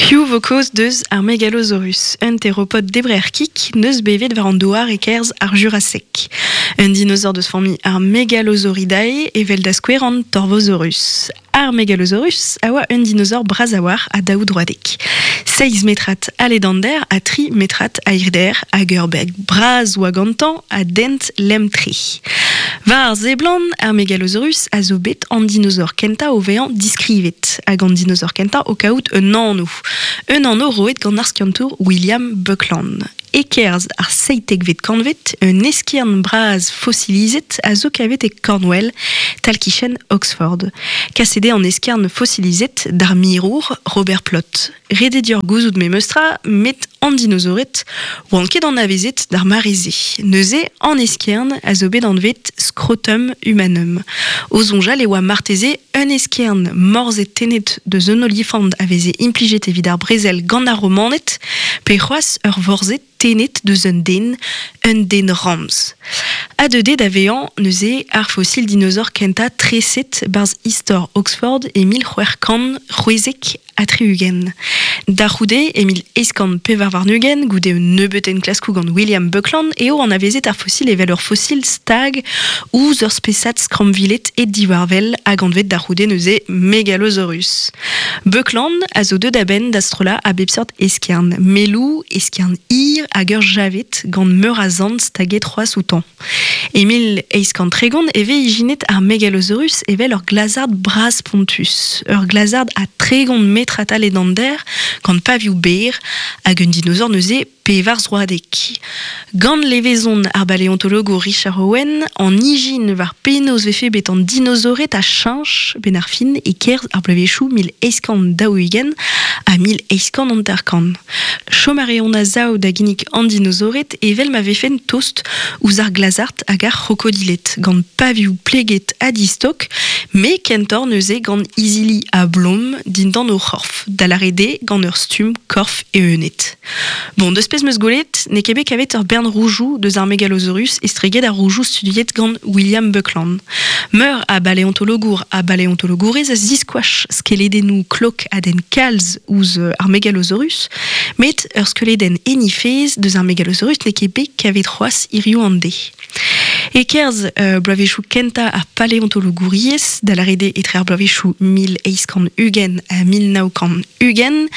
Piv vo kaoz deus ar Megalosaurus, un theropod debrer kig neus bevet war an douar e-kerzh ar Jurasek. Un dinosaur deus familh ar Megalosauridae evel da skouer an Torvosaurus. Ar Megalosaurus a oa un dinosaur bras a-walc'h ha daoudroadek. Seizh metrad a ledander ha tri metrad a hirder hag ur beg bras oa gantañ ha dent lemm-tre. War ar seblant, ar Megalosaurus a zo bet an dinosaur kentañ o vezañ diskrivet hag an dinosaur kentañ o kaout un anv. Un anv roet gant ar skiantour William Buckland. E-kerzh ar seitekvet kantved, un eskern bras fosilizet a zo kavet e Cornwall, tal-kichen Oxford. Kaset eo an eskern fosilizet d'ar mirour Robert Plot. Ret eo deoc'h gouzout memes tra, met an dinosaored oant ket anavezet d'ar mare-se. Neuze, an eskern a zo bet anvet scrotum humanum. O soñjal e oa marteze un eskern morzet tennet deus un olifant a veze implijet evit ar brezel gant ar Romaned, pe c'hoazh ur vorzhed tennet deus un den, un den ramz. Ha deuet eo da vezañ neuze ar fosil dinosaur kentañ treset 'barzh istor Oxford e 1676. Da c'houde, e 1824, goude un nebeud enklaskoù gant William Buckland, eo anavezet ar fosil evel ur fosil stag ouzh ur spesad skrammviled e diwarvel hag anvet da c'houde neuze Megalosaurus. Buckland a zo deuet a-benn da strollañ a bep seurt eskern, melloù, eskern hir hag ur javed gant meur a zant staget c'hoazh outañ. E 1830 e vez ijinet ar Megalosaurus evel ur glazard bras-spontus, ur glazard ha 30 metr a-tal edander gant pavioù berr hag un dinosaur neuze pevarzroadek. Gant levezon ar baleontologour Richard Owen, an ijin war penaos vefe bet an dinosaored a cheñch 'benn ar fin e-kerzh ar bloavezhioù 1840 ha 1850. Chom a reont a-sav da ginnig an dinosaored evel ma vefent tost ouzh ar glazard hag ar c'hrokodiled, gant pavioù pleget ha distok, met kentoc'h neuze gant izili a-blom dindan o c'horf, da lâret eo gant ur stumm korf eeunet. Bon, deus pezh 'meus gwelet, n'eo ket bet kavet ur bern roujoù deus ar Megalosaurus estreget ar roujoù studiet gant William Buckland. Meur a baleontologour ha baleontologourez a ziskoach skeledennoù klok a denn kalz ouzh ar Megalosaurus, met ur skeuledenn en he fezh deus ar Megalosaurus n'eo ket bet kavet c'hoazh hiziv an deiz. E-kerzh bloavezhioù kentañ ar paleontologouriezh, da lâret eo etre ar bloavezhioù 1820 ha 1920,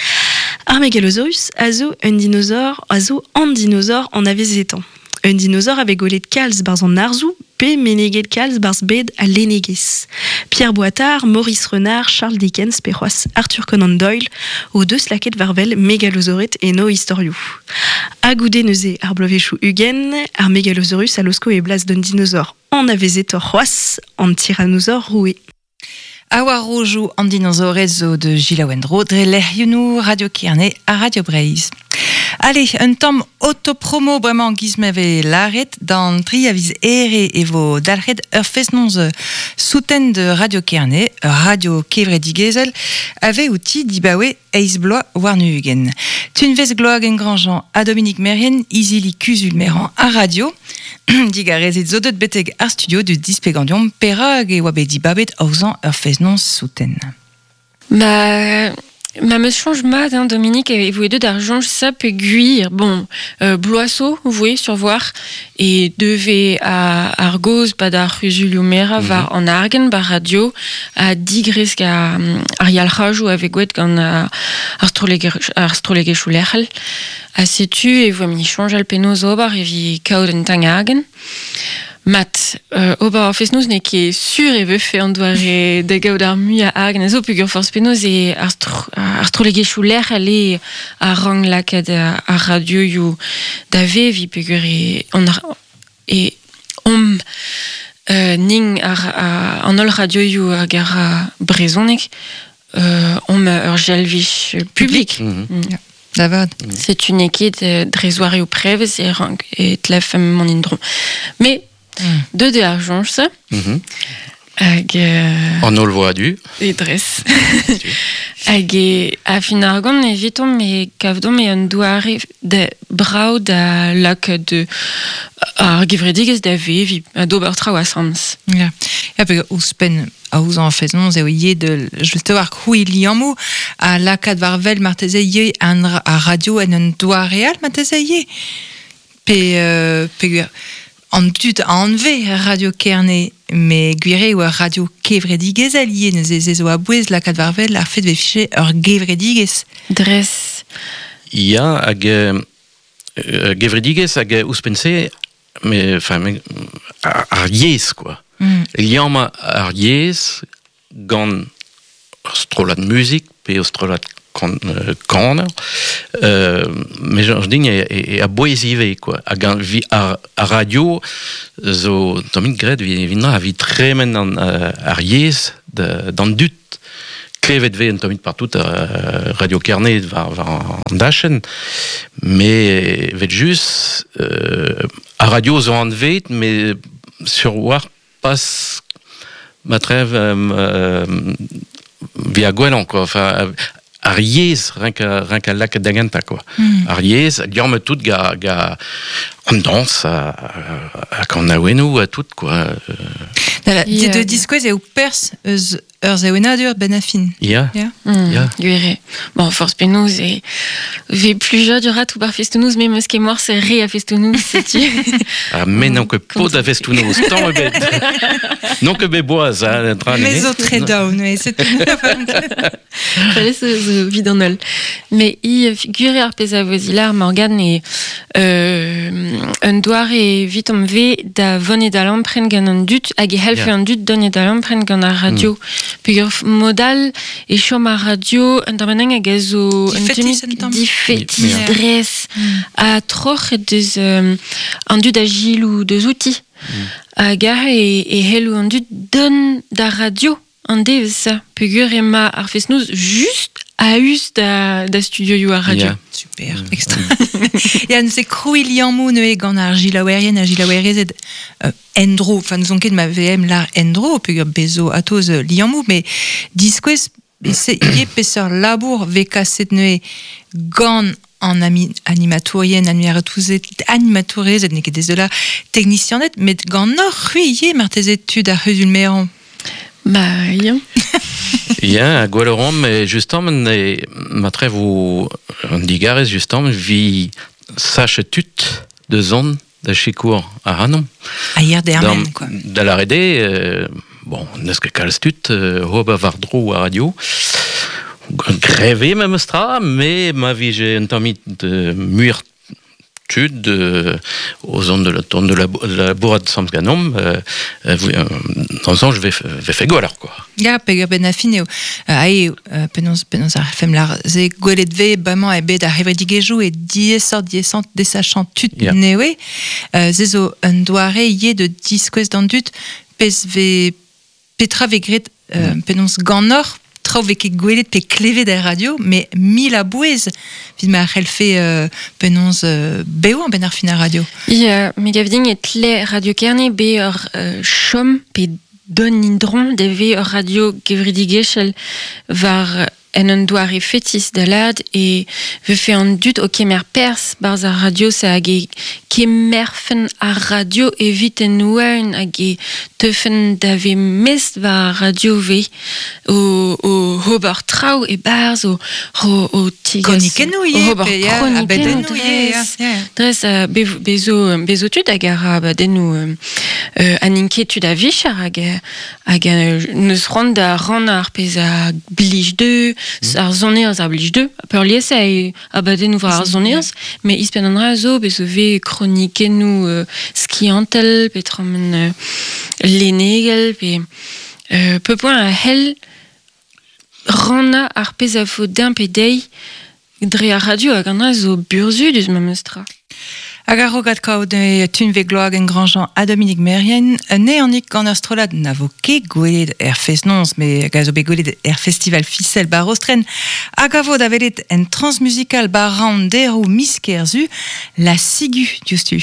ar Megalosaurus a zo un dinosaur a zo an dinosaur anavezetañ. Un dinosaur a vez gwelet kalz 'barzh an arzoù pe meneget kalz 'barzh bed al lennegezh. Pierre Boitard, Maurice Renard, Charles Dickens pe c'hoazh Arthur Conan Doyle o deus lakaet war-wel megalosaored en o istorioù. Ha goude neuze ar bloavezhioù 20, ar Megalosaurus a laosko e blas d'un dinosaur anavezetoc'h c'hoazh, an Tyrannosaure roue. Ha war rojoù an dinosaored zo de Gilaouendro dre lec'hioù Radio Kerne ha Radio Breizh. Allez, un tamm autopromo bremañ giz ma vez lâret d'an tri a viz Here e vo dalc'het ur fest-noz souten de Radio Kerne, ur radio kevredigezhel a vez outi dibaoe eizh bloaz warn-ugent. Tunvezh Gloagen-Grandjean ha Dominique Merrien, izili kuzul-merañ ar radio, Digarezit zo deut betek ar studio du displegañ perak e oa bet dibabet aozañ ur fest-noz souten. Ma ma meus soñj mat, hein, Dominique, e voe deut ar soñj-se peogwir, bon, bloaz zo voe sur voir, e devez ar gaoz 'pad ar c'huzulioù-merañ war an argent 'ba radio ha digresk ar yalc'hajoù a vez gwelet gant ar strollegezhioù lec'hel. Ha setu e voemp-ni soñjal penaos ober evit kaout un tagnargenn. Mat, ober ar fest-noz n'eo ket sur e vefe an doare da gaout ar muiañ argent a zo peogwir forzh penaos eo ar strollegezhioù lec'hel eo a rank lakaat ar radioioù da veviñ peogwir e e omp ning an holl radioioù hag ar brezhoneg omp ur jalvich publik. Da vat. Setu n'eo ket dre zoareoù prevez e rank e tlefemp mont en-dro. Mais deuet eo ar soñj-se. Hag An holl vo a-du. E dres. Hag e a fin argant evitomp e kavdomp e un doare da brav da lakaat ar gevredigezh da veviñ, d'ober traoù asambles. Ya, ya pe ouzhpenn aozañ fest-noz eo ivez de just war krouiñ liammoù. a lakaat war vel marteze ivez an ar radio en un doare all marteze ivez. Pe, pe an dud a anve Radio Kerne, me gwir eo ur radio kevredigezh ivez, neuze se zo a-bouez lakaat war vel ar fet vefe ur gevredigezh. Dres. Ya, hag gevredigezh hag ouzhpenn-se, me, enfin, me, ar yezh, quoi. Liammañ ar yezh gant ur strollad muzik pe ur strollad kaner, me soñj din e a-bouez ivez, quoi. Hag an, ar radio zo tammig graet evit na evit tremen an, ar yezh d'an dud. Klevet vez un tammig partout Radio Kerne war an dachenn, me vet just ar radio zo anvet, me sur war pas ma trev via gwellañ, quoi. Enfin, ar yezh renk a lakaat da gentañ, quoi. Ar yezh, liammet tout ga an dañs hag an awennoù ha tout, quoi. Voilà, de diskouez eo perzh eus ur sevenadur ben a fin. Ya. Ya. Ya. Gwir eo. Bon, forzh penaos e vez plujadur a tout bar festoù-noz, me 'meus ket morse re a festoù-noz, setu. Ha me n'on ket paotr a festoù-noz, tamm ebet. N'on ket bet boaz, hein, tra Me zo tre daou, neuze, setu. Fallait zo vid an holl. Me i gwir eo ar pezh a vo zilar Morgane e un doare evit am ve da vont da lampren gant an dud hag e c'hellfe an dud dont da lampren gant ar radio. Peogwir modal e chom ar radio un tamm hag a zo un Difetis un tamm. Difetis, dres. Ha troc'h deus an dud a gilou deus outi. Hag aze e c'hello an dud dont d'ar radio an devezh peogwir ema ar fest-noz just a-us da studioioù ar radio. Super, extra. Ya, neuze krouiñ liammoù neuze gant ar gilaouerien ha gilaouerezed endro, enfin n'ouzon ket ma VM lar endro, peogwir bezo atoz liammoù, mais diskouez se ivez peseurt labour vez kaset neuze gant an animatourien, animatourezed, n'eo ket dezola, technicianed, met gant hoc'h c'hwi ivez marteze tud ar c'huzul-merañ. Ba, ya. Ya, gwell ran, justement, e, ma trev o an digarez justement, vi sache tud de zon da sikour ar anom. A hier dermen, quoi. Da la rede, bon, n'eus ket kalz tud, ober war dro ar radio. Greve memes tra, me ma vije un tammig muioc'h tud o zont de la ton de la bourrade samz ganom, dans je vais fait gwelloc'h, quoi. Ya, peogwir ben a fin eo. Ae, penaos ar fem lar ze gwelet ve bamañ e bet ar c'hevredigezhioù e diaesoc'h diaesañ desachañ tud newe. Se zo un doare ivez de diskouez d'an dud pezh ve petra ve graet penaos ganeoc'h traoù vez ket gwelet pe klevet er radio, mais mil a bouez evit ma c'hellfe penaos bevañ ben ar fin ar radio. Ya, me gav din e tle Radio Kerne be ur chom pe don indron de ve ur radio kevredigezhel war en un doare fetis da lad e vefe an dud o kemer perzh barzh ar radio se hag e kemerfen ar radio evit en ouen hag e teufen da ve mest war ar radio ve o ober traoù e barzh o tigas Kronikennoù ivez, ober pe ya, kronikennoù abadennoù ivez, dres. ya, ya. Dres, bezo tud hag ar abadennoù an inketud a vicher hag neus c'hoant da rannañ ar pezh a blij dezhe, ar sonerezh a blij dezhe. Peurliesañ eo abadennoù war ar sonerezh, met ouzhpenn an dra zo bezo vez kronikennoù skiantel, pe tramen lennegel, pe peu poent a c'hell rannañ ar pezh a vo din pe dezhi dre ar radio hag an dra zo burzhudus memes tra. Hag ar rogad kaout tunve gloag en Grandjean ha Dominique Merien, ne anik gant ur strollad na vo ket gwelet er fest-noz, me hag a zo bet gwelet er festival Ficelle bar Rostren, hag a vo da welet en transmusical bar Round derou miz Kerzu, la Sigu diouzhtu.